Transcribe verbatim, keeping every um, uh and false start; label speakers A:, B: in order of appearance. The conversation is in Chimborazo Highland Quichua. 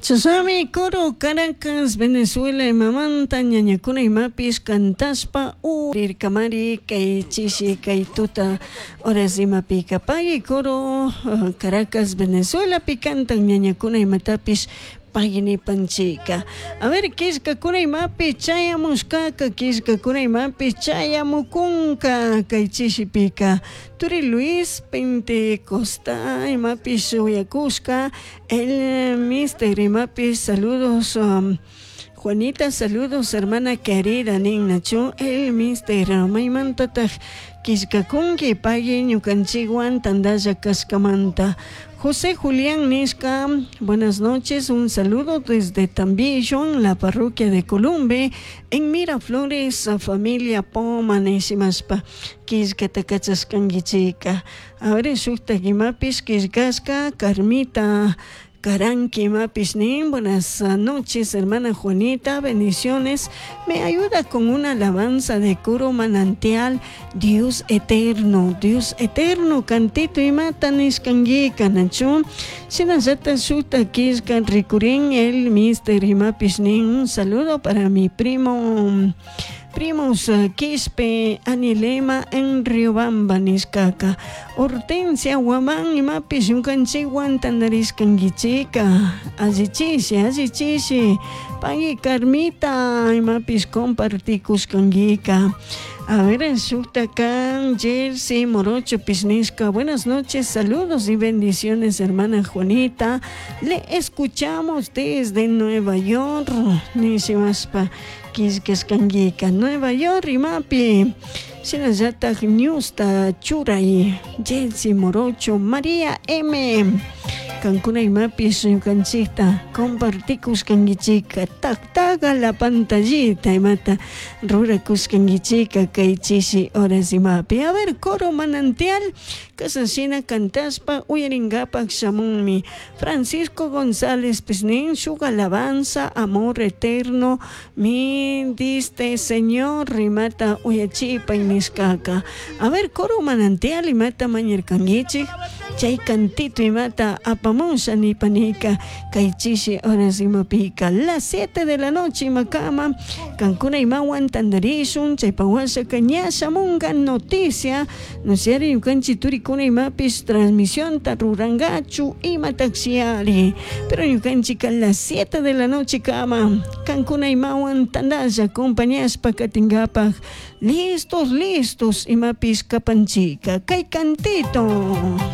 A: Chashnami coro Caracas, Venezuela imamanta ñañakuna imapish cantashpa urirkamari kay chishi kay tuta horas imapika pagui coro Caracas, Venezuelapi cantan ñañakuna imatapish pagui nipanchika. A ver, killkakuna imapi chayamushkaka, killkakuna imapi chayamukunka kay chishipika. Turi Luis Pentecosta imapish uyakushka, el mister imapish saludos, um, Juanita, saludos hermana querida nin nachu el mister maymantataj killkakunki pagui ñukanchikwan tandalla kashkamanta. José Julián nishka, buenas noches, un saludo desde Tambillo, en la parroquia de Columbe, en Miraflores, familia Poma nishimashpa killkata kachashkankichika. A ver, shuktak imapish killkashka Carmita Karanki imapish nin, buenas noches, hermana Juanita, bendiciones. Me ayuda con una alabanza de coro manantial, Dios eterno, Dios eterno, cantito imata nishkanguika nachu. Shinallata shukta killka rikurin el mister imapish nin, un saludo para mi primo primos Quispe, Anilema en Riobamba nishkaka. Hortensia Guamán imapish ñukanchikwan tandarishkankichika. Allichishi, allichishi. Pagui Carmita imapish compartikushkankika. A ver, shukta kan Jersey Morocho nishka. Buenas noches, saludos y bendiciones, hermana Juanita. Le escuchamos desde Nueva York. Nishimashpa killkashkankika. Nueva York imapi. Shinallatak newsta churay Jersey Morocho María M. Kankuna imapish ñukanchikta compartikushkankichika taktaga la pantallita imata rurakushkankichika kay chishi horas imapi. A ver, coro manantial kasashina cantashpa uyarinkapak shamunmi Francisco González pish nin shuk alabanza amor eterno mi diste Señor imata uyachipay nishkaka. A ver, coro manantial imata mañarkankichik chay cantito imata apamusha nipanika kay chishi horas imapika las siete de la noche imakama kankuna imawan tandarishun chaypawashaka ña shamunka noticia nosiari ñukanchik turikuna imapish transmisionta rurankachu imataxiari pero ñukanchik a las siete de la noche kama kankuna imawan tandalla acompañashpa katinkapak listos listos imapish kapanchika kay cantito.